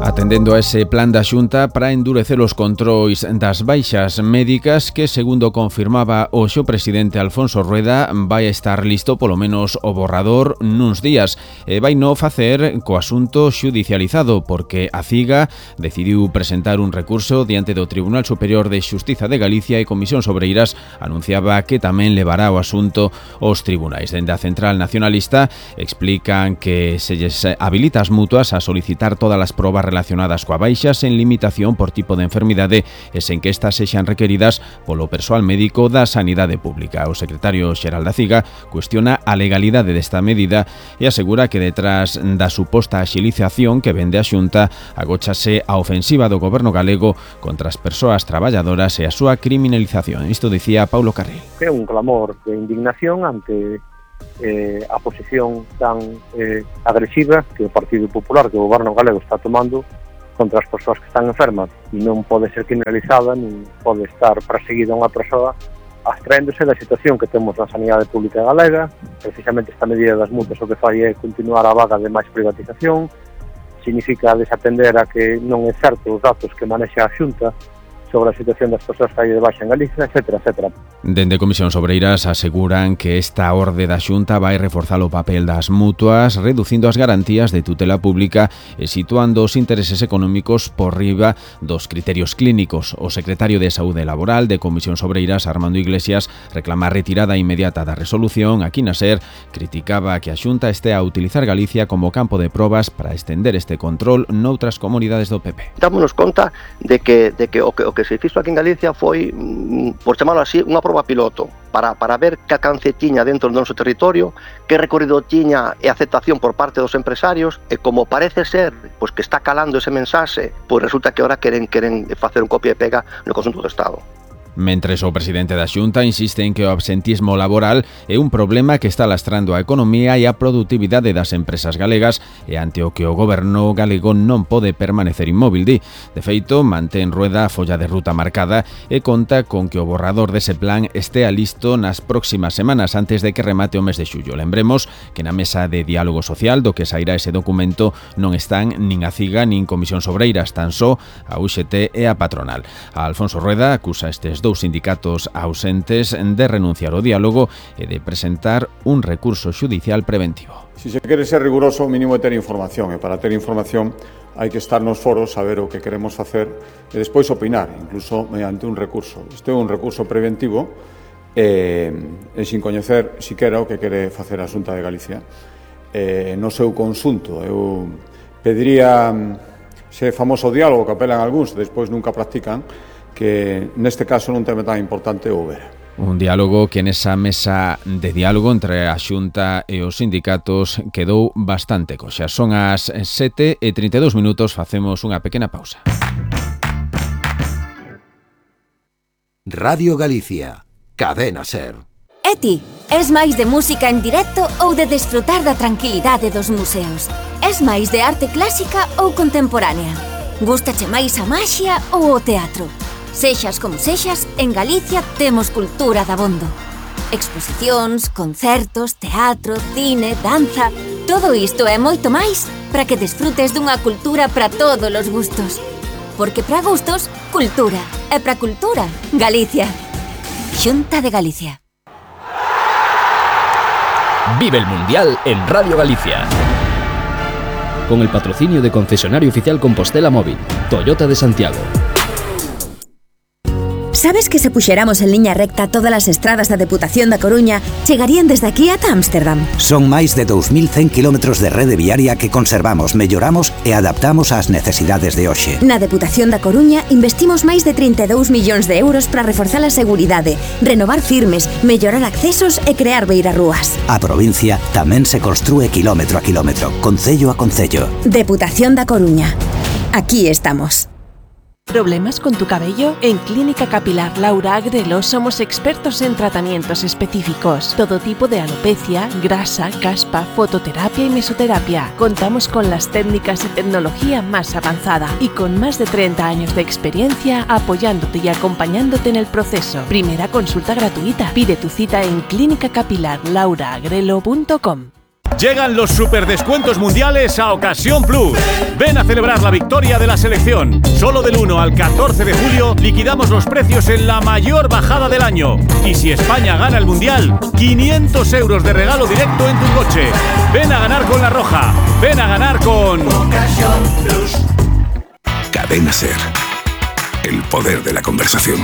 Atendendo a ese plan da Xunta para endurecer os controis das baixas médicas que, segundo confirmaba hoxe o presidente Alfonso Rueda, vai estar listo polo menos o borrador nuns días. E vai no facer co asunto xudicializado porque a CIGA decidiu presentar un recurso diante do Tribunal Superior de Xustiza de Galicia e Comisións Obreiras anunciaba que tamén levará o asunto aos tribunais. Dende a Central Nacionalista explican que se lles habilita as mutuas a solicitar todas as probas relacionadas coa baixa sen limitación por tipo de enfermidade e sen que estas sexan requeridas polo persoal médico da Sanidade Pública. O secretario xeral da CIGA cuestiona a legalidade desta medida e asegura que detrás da suposta axilización que vende a Xunta agóchase a ofensiva do goberno galego contra as persoas traballadoras e a súa criminalización. Isto dicía Paulo Carril. É un clamor de indignación ante a posición tan agresiva que o Partido Popular, que o goberno galego está tomando contra as persoas que están enfermas e non pode ser criminalizada nin pode estar perseguida unha persoa abstraéndose da situación que temos na sanidade pública galega. Precisamente esta medida das multas o que fai é continuar a vaga de máis privatización, significa desatender a que non é certo os datos que manexa a Xunta sobre a situación das persoas que hai de baixa en Galicia, etcétera, etcétera. Dende Comisións Obreiras aseguran que esta orde da Xunta vai reforzar o papel das mutuas, reducindo as garantías de tutela pública e situando os intereses económicos por riba dos criterios clínicos. O secretario de Saúde Laboral de Comisións Obreiras, Armando Iglesias, reclama a retirada inmediata da resolución. Aquí na SER criticaba que a Xunta estea a utilizar Galicia como campo de probas para estender este control noutras comunidades do PP. Dámonos conta de que o que se fixo aquí en Galicia foi, por chamarlo así, unha proba piloto para ver que alcance tiña dentro do noso territorio, que recorrido tiña e aceptación por parte dos empresarios, e como parece ser pois que está calando ese mensaxe, pois resulta que ahora queren facer un copia e pega no conxunto do Estado. Mentres o presidente da Xunta insiste en que o absentismo laboral é un problema que está lastrando a economía e a produtividade das empresas galegas e ante o que o goberno galego non pode permanecer inmóvil, di. De feito, mantén Rueda a folla de ruta marcada e conta con que o borrador dese plan estea listo nas próximas semanas antes de que remate o mes de xullo. Lembremos que na mesa de diálogo social do que sairá ese documento non están nin a CIGA nin Comisións Obreiras, tan só a UGT e a patronal. A Alfonso Rueda acusa estes dous sindicatos ausentes de renunciar ao diálogo e de presentar un recurso xudicial preventivo. Si se quere ser riguroso, o mínimo é ter información, e para ter información hai que estar nos foros, saber o que queremos facer e despois opinar, incluso mediante un recurso. Isto é un recurso preventivo e sin coñecer siquera o que quere facer a Xunta de Galicia. No seu conxunto, eu pediría ese famoso diálogo que apelan algúns e despois nunca practican, que neste caso non tema tan importante houbera. Un diálogo que nesa mesa de diálogo entre a Xunta e os sindicatos quedou bastante coxa. Son as 7:32 minutos, facemos unha pequena pausa. Radio Galicia, Cadena SER. E ti, es máis de música en directo ou de desfrutar da tranquilidade dos museos? Es máis de arte clásica ou contemporánea? Gústache máis a maxia ou o teatro? Sexas como sexas, en Galicia temos cultura dabondo. Exposicións, concertos, teatro, cine, danza... Todo isto e moito máis para que desfrutes dunha cultura para todos os gustos. Porque para gustos, cultura. E para cultura, Galicia. Xunta de Galicia. Vive el Mundial en Radio Galicia. Con el patrocinio de Concesionario Oficial Compostela Móvil, Toyota de Santiago. Sabes que se puxéramos en liña recta todas as estradas da Deputación da Coruña chegarían desde aquí ata Ámsterdam? Son máis de 2.100 kilómetros de rede viaria que conservamos, melloramos e adaptamos ás necesidades de hoxe. Na Deputación da Coruña investimos máis de 32 millóns de euros para reforzar a seguridade, renovar firmes, mellorar accesos e crear beirarrúas. A provincia tamén se construe kilómetro a kilómetro, concello a concello. Deputación da Coruña. Aquí estamos. ¿Problemas con tu cabello? En Clínica Capilar Laura Agrelo somos expertos en tratamientos específicos. Todo tipo de alopecia, grasa, caspa, fototerapia y mesoterapia. Contamos con las técnicas y tecnología más avanzada y con más de 30 años de experiencia apoyándote y acompañándote en el proceso. Primera consulta gratuita. Pide tu cita en clínicacapilarlauraagrelo.com. Llegan los superdescuentos mundiales a Ocasión Plus. Ven a celebrar la victoria de la selección. Solo del 1 al 14 de julio liquidamos los precios en la mayor bajada del año. Y si España gana el mundial, 500 euros de regalo directo en tu coche. Ven a ganar con La Roja. Ven a ganar con Ocasión Plus. Cadena SER. El poder de la conversación.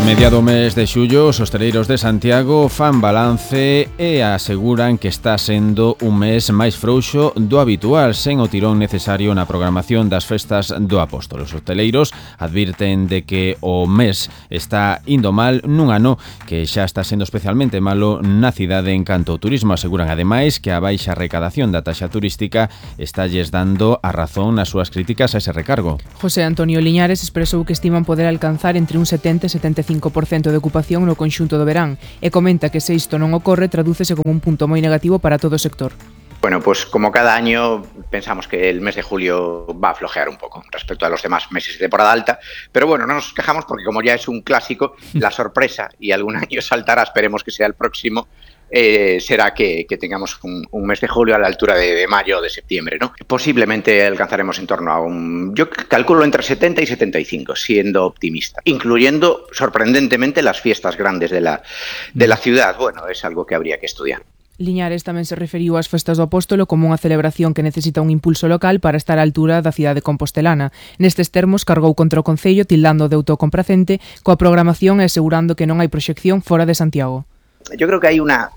Mediado mes de xullo, os hostaleiros de Santiago fan balance e aseguran que está sendo un mes máis frouxo do habitual, sen o tirón necesario na programación das festas do Apóstolo. Os hostaleiros advirten de que o mes está indo mal nun ano que xa está sendo especialmente malo na cidade en canto ao turismo. Aseguran ademais que a baixa recadación da taxa turística estalles dando a razón nas súas críticas a ese recargo. José Antonio Liñares expresou que estiman poder alcanzar entre un 70 e 75% de ocupación no conxunto do verán e comenta que se isto non ocorre tradúcese como un punto moi negativo para todo o sector. Bueno, pues como cada año pensamos que el mes de julio va a flojear un poco respecto a los demás meses de temporada alta, pero bueno, no nos quejamos porque como ya es un clásico, la sorpresa, y algún año saltará, esperemos que sea el próximo, será que tengamos un mes de julio a la altura de mayo o de septiembre, ¿no? Posiblemente alcanzaremos en torno a yo calculo entre 70 y 75, siendo optimista, incluyendo sorprendentemente las fiestas grandes de la ciudad. Bueno, es algo que habría que estudiar. Liñares tamén se referiu ás festas do Apóstolo como unha celebración que necesita un impulso local para estar á altura da cidade compostelana. Nestes termos cargou contra o Concello tildando de autocompracente coa programación e asegurando que non hai proxección fora de Santiago. Yo creo que hay una,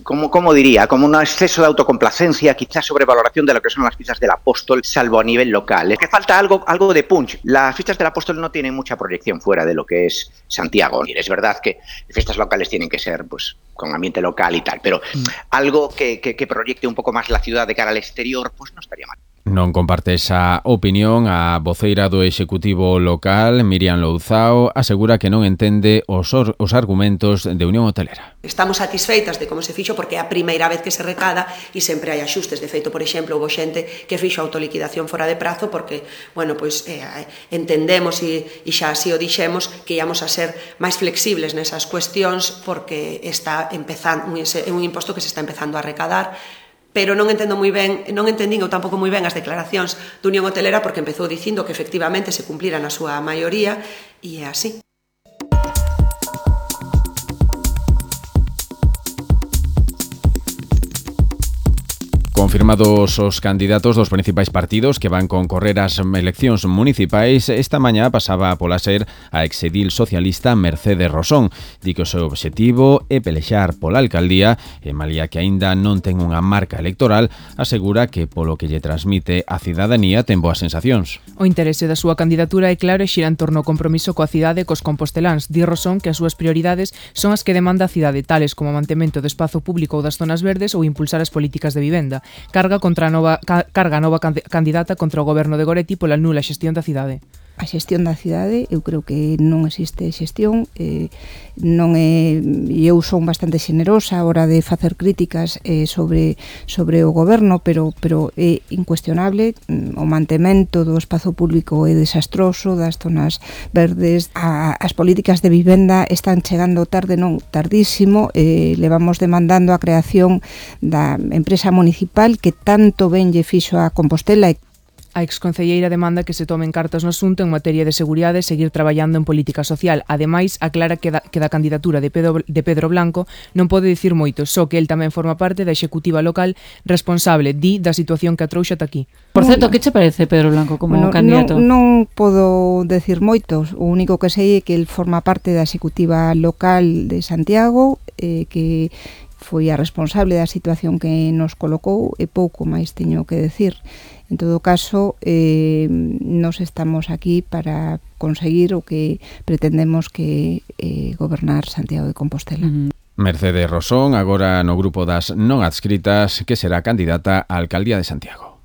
¿cómo diría? Como un exceso de autocomplacencia, quizás sobrevaloración de lo que son las fiestas del Apóstol, salvo a nivel local. Es que falta algo de punch. Las fiestas del Apóstol no tienen mucha proyección fuera de lo que es Santiago. Y es verdad que fiestas locales tienen que ser, pues, con ambiente local y tal, pero algo que proyecte un poco más la ciudad de cara al exterior, pues no estaría mal. Non comparte esa opinión. A voceira do Executivo local, Miriam Louzao, asegura que non entende os argumentos de Unión Hotelera. Estamos satisfeitas de como se fixo porque é a primeira vez que se recada e sempre hai axustes. De feito, por exemplo, houve xente que fixo autoliquidación fora de prazo porque, bueno, pois entendemos e xa así o dixemos que íamos a ser máis flexibles nesas cuestións porque está empezando un imposto que se está empezando a recadar. Pero non entendín eu tampouco moi ben as declaracións da Unión Hotelera porque empezou dicindo que efectivamente se cumplira na súa maioría e é así. Confirmados os candidatos dos principais partidos que van concorrer ás eleccións municipais, esta mañá pasaba pola SER a exedil socialista Mercedes Rosón. Di que o seu obxectivo é pelexar pola alcaldía e, malia que aínda non ten unha marca electoral, asegura que polo que lle transmite a cidadanía ten boas sensacións. O interese da súa candidatura é claro e xira en torno ao compromiso coa cidade e cos composteláns. Di Rosón que as súas prioridades son as que demanda a cidade, tales como o mantemento do espazo público ou das zonas verdes ou impulsar as políticas de vivenda. Carga a nova candidata contra o goberno de Goretti pola nula xestión da cidade. A xestión da cidade, eu creo que non existe xestión, non é, eu son bastante xenerosa a hora de facer críticas sobre o goberno, pero é incuestionable, o mantemento do espazo público é desastroso, das zonas verdes, as políticas de vivenda están chegando tarde, non tardísimo, levamos demandando a creación da empresa municipal que tanto ben lle fixo a Compostela. A exconcelleira demanda que se tomen cartas no asunto en materia de seguridade e seguir traballando en política social. Ademais, aclara que da candidatura de Pedro Blanco non pode dicir moito, só que el tamén forma parte da executiva local responsable, da situación que a trouxa ata aquí. Por certo, que che parece Pedro Blanco como candidato? Non podo decir moitos, o único que sei é que el forma parte da executiva local de Santiago, que foi a responsable da situación que nos colocou e pouco máis teño que decir. En todo caso, nos estamos aquí para conseguir o que pretendemos que gobernar Santiago de Compostela. Mercedes Rosón, agora no grupo das non adscritas, que será candidata á alcaldía de Santiago.